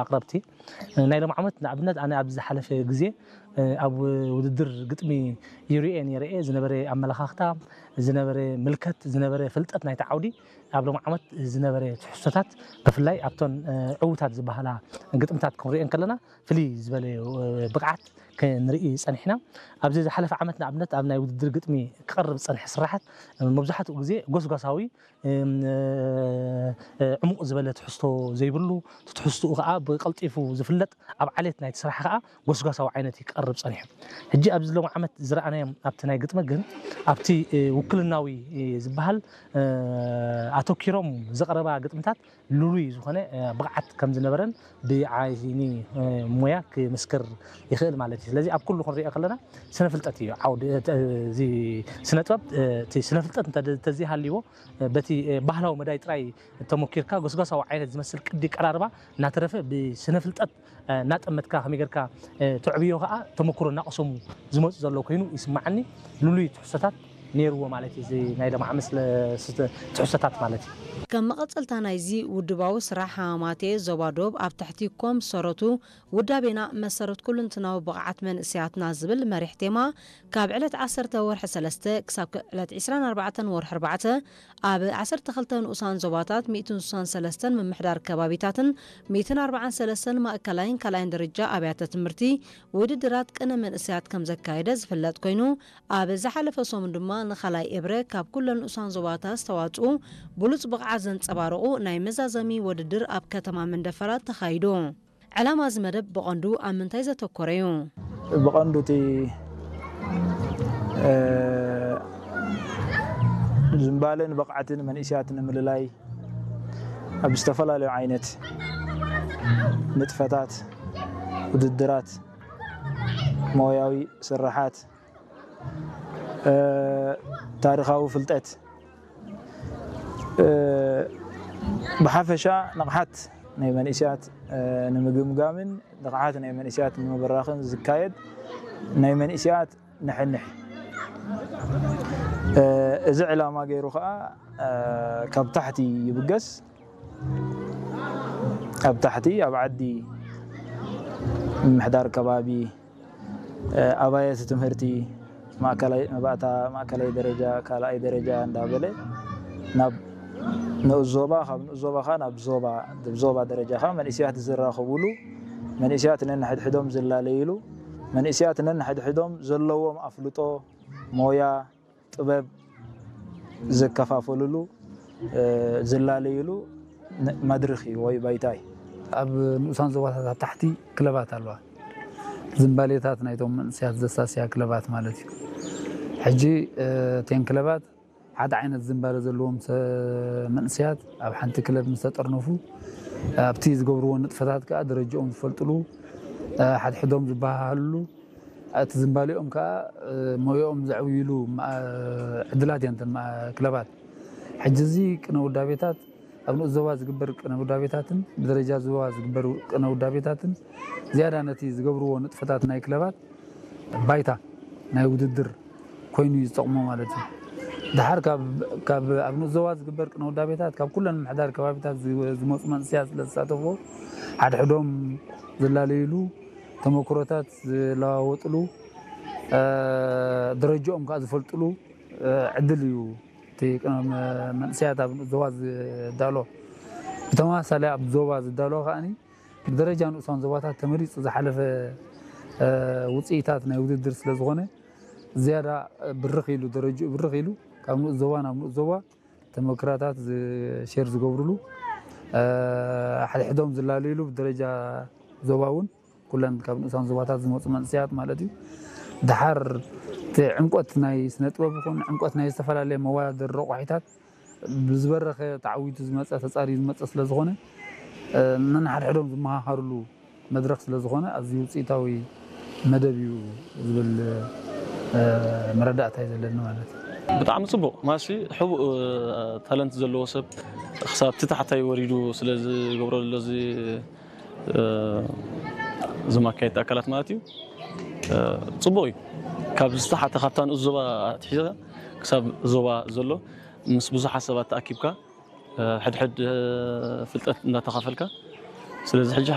ኣቕረብቲ። ናይ ሎም ዓመት ንኣብነት ኣነ ኣብ ዝሓለፈ ግዜ ኣብ ውድድር ግጥሚ ይርኤ ነይረ እየ። ዝነበረ ኣመለኻኽታ፣ ዝነበረ ምልከት፣ ዝነበረ ፍልጠት ናይቲ ዓውዲ፣ ኣብ ሎም ዓመት ዝነበረ ትሕዝቶታት፣ ብፍላይ ኣብቶን ዕዉታት ዝበሃላ ግጥምታት ክንሪኦ እንከለና ፍልይ ዝበለ ብቕዓት ክንርኢ ጸኒሕና። ኣብዚ ዝሓለፈ ዓመት ንኣብነት ኣብ ናይ ውድድር ግጥሚ ክቐርብ ዝጸንሐ ስራሓት መብዛሕትኡ ግዜ ጎስጓሳዊ፣ ዕሙቕ ዝበለ ትሕዝቶ ዘይብሉ፣ እቲ ትሕዝትኡ ከኣ ብቐልጢፉ ዝፍለጥ፣ ኣብ ዓሌት ናይቲ ስራሕ ከኣ ጎስጓሳዊ ዓይነት እዩ ክቐርብ ጸኒሑ። ሕጂ ኣብዚ ሎም ዓመት ዝረኣናዮም ኣብቲ ናይ ግጥሚ ግን ኣብቲ ውክልናዊ ዝበሃል ኣተኪሮም ዘቕረባ ግጥምታት ልሉይ ዝኾነ ብቕዓት ከም ዝነበረን ብዓይኒ ሞያ ክምስክር ይኽእል ማለት እዩ። ስለዚ ኣብ ኩሉ ክንሪኦ ከለና ስነ ፍልጠት እዩ ዓውዲ፣ እዚ ስነ ጥበብ፣ እቲ ስነ ፍልጠት እንተ-፣ እንተዘይሃልይዎ፣ በቲ ባህላዊ መዳይ ጥራይ ተሞኪርካ ጎስጓሳዊ ዓይነት ዝመስል ቅዲ ቀራርባ እናተረፈ ብስነ ፍልጠት እናጠመትካ ከመይ ጌርካ ተዕብዮ ከኣ ተመክሮ እናቐሰሙ ዝመፁ ዘለዉ ኮይኑ ይስማዓኒ። ልሉይ ትሕዝቶታት ነይርዎ ማለት እዩ። እዚ ናይ ሎም ዓመት ስለ-፣ ስተ-፣ ትሕዝቶታት ማለት እዩ። ከም መቐጸልታ ናይዚ ውድባዊ ስራሕ ሃማማቴ ዞባ ዶብ ኣብ ትሕቲ ኮም ሰረቱ ውዳቤና መሰረት ኩልንትናዊ ብቕዓት መንእሰያትና ዝብል መሪሕ ቴማ ካብ ዕለት ዓሰርተ ወርሒ ሰለስተ ክሳብ ዕለት ዕስራን ኣርባዕተን ወርሒ ኣርባዕተ ኣብ ዓሰርተ ክልተ ንኡሳን ዞባታት ሚእትን ስሳን ሰለስተን ምምሕዳር ከባቢታትን ሚእትን ኣርባዓን ሰለስተን ማእከላይን ካልኣይን ደረጃ ኣብያተ ትምህርቲ ውድድራት ቅነ መንእሰያት ከም ዘካየደ ዝፍለጥ ኮይኑ፣ ኣብ ዝሓለፈ ሰሙን ድማ ንኻልኣይ ኤብረ ካብ ኩለን ንኡሳን ዞባታት ዝተዋጽኡ ብሉጽ ብቕዓት ዘንጸባረቑ ናይ መዛዘሚ ውድድር ኣብ ከተማ መንደፈራ ተኻይዱ። ዕላማ እዚ መደብ ብቐንዱ ኣብ ምንታይ ዘተኮረ እዩ? ብቐንዱ እቲ፣ እ፣ ዝንባለን ብቕዓትን መንእሰያት ንምልላይ ኣብ ዝተፈላለዩ ዓይነት ንጥፈታት፣ ውድድራት፣ ሞያዊ ስርሓት፣ እ፣ ታሪኻዊ ፍልጠት፣ እ፣ ብሓፈሻ ንቕሓት ናይ መንእሰያት፣ እ፣ ንምግምጋምን ንቕሓት ናይ መንእሰያት ንምብራኽን ዝካየድ ናይ መንእሰያት ንሕንሕ። እ፣ እዚ ዕላማ ገይሩ ኸኣ፣ እ፣ ካብ ታሕቲ ይብገስ። ኣብ ታሕቲ ኣብ ዓዲ ምምሕዳር ከባቢ፣ እ፣ ኣባየት ትምህርቲ ማእከላይ መባእታ፣ ማእከላይ ደረጃ፣ ካልኣይ ደረጃ እንዳበለ ናብ ንኡስ ዞባ፣ ካብ ንኡስ ዞባ ኸኣ ናብ ዞባ፣ ዞባ ደረጃ ኸኣ መንእሰያት ዝራኸቡሉ፣ መንእሰያት ነንሕድሕዶም ዝላለይሉ፣ መንእሰያት ነንሕድሕዶም ዘለዎም ኣፍልጦ፣ ሞያ፣ ጥበብ ዘከፋፈልሉ፣ እ፣ ዝላለይሉ ነ-፣ መድርኽ እዩ ወይ ባይታ እዩ። ኣብ ንኡሳን ዞባታት ኣብ ታሕቲ ክለባት ኣለዋ። ዝንባሌታት ናይቶም መንእሰያት ዘሳስያ ክለባት ማለት እዩ። ሕጂ፣ እ፣ እተን ክለባት ሓደ ዓይነት ዝንባለ ዘለዎም ሰ-፣ መንእሰያት ኣብ ሓንቲ ክለብ ምስ ተጠርነፉ፣ ኣብቲ ዝገብርዎ ንጥፈታት ከኣ ደረጃኦም ዝፈልጥሉ፣ እ፣ ሓድሕዶም ዝበሃሃልሉ፣ እቲ ዝንባሌኦም ከኣ፣ እ፣ ሞያኦም ዘዕብይሉ መ-፣ ዕድላት እየን እተን መ-፣ ክለባት። ሕጂ እዚ ቅነ ውዳቤታት ኣብ ንኡስ ዞባ ዝግበር ቅነ ውዳቤታትን ብደረጃ ዞባ ዝግበር ቅነ ውዳቤታትን ዝያዳ ነቲ ዝገብርዎ ንጥፈታት ናይ ክለባት ባይታ ናይ ውድድር ኮይኑ እዩ ዝጠቕሞ ማለት እዩ። ደሓር ካብ፣ ካብ ኣብ ንኡስ ዞባ ዝግበር ቅነ ውዳቤታት ካብ ኩለን ምምሕዳር ከባቢታት ዝ-፣ ዝመፁ መንእሰያት ስለ ዝሳተፍዎ ሓድሕዶም ዝላለይሉ፣ ተመክሮታት ዝለዋወጥሉ፣ እ፣ ደረጃኦም ከዓ ዝፈልጥሉ፣ እ፣ ዕድል እዩ። እቲ ቅነ-፣ መንእሰያት ኣብ ንኡስ ዞባ ዝዳሎ ብተመሳሳሊ ኣብ ዞባ ዝዳሎ ከዓኒ ብደረጃ ንኡሳን ዞባታት ተመሪጹ ዝሓለፈ፣ እ፣ ውጽኢታት ናይ ውድድር ስለ ዝኾነ ዝያዳ ብርኽ ኢሉ፣ ደረጅኡ ብርኽ ኢሉ ካብ ንኡስ ዞባ ናብ ንኡስ ዞባ ተመክራታት ዝ-፣ ሼር ዝገብርሉ፣ እ፣ ሓድሕዶም ዝላለይሉ ብደረጃ ዞባ እውን ኩለን ካብ ንኡሳን ዞባታት ዝመጹ መንእሰያት ማለት እዩ። ደሓር እቲ ዕምቆት ናይ ስነ ጥበብ ይኹን ዕምቆት ናይ ዝተፈላለየ መወዳደሪ ረቋሒታት ብዝበረኸ ተዓዊቱ ዝመጸ፣ ተጻርዩ ዝመጸ ስለ ዝኾነ፣ እ፣ ነንሓድሕዶም ዝመሃሃሩሉ መድረኽ ስለ ዝኾነ ኣዝዩ ውጽኢታዊ መደብ እዩ ዝብል፣ እ፣ መረዳእታ እዩ ዘለኒ ማለት እዩ። ብጣዕሚ ጽቡቕ። ማሲ ሕቡእ፣ እ፣ ታለንት ዘለዎ ሰብ ክሳብ እቲ ታሕታይ ወሪዱ ስለ ዝገብሮ ዘሎ እዚ፣ እ፣ እዞም ኣካየድቲ ኣካላት ማለት እዩ፣ እ፣ ጽቡቕ እዩ። ካብ ዝተሓተ፣ ካብታ ንኡስ ዞባ ኣትሒዝካ ክሳብ ዞባ ዘሎ ምስ ብዙሓት ሰባት ተኣኪብካ፣ እ፣ ሕድሕድ፣ እ፣ ፍልጠት እንዳተኻፈልካ ስለዚ ሕጂ ሓፈሻዊ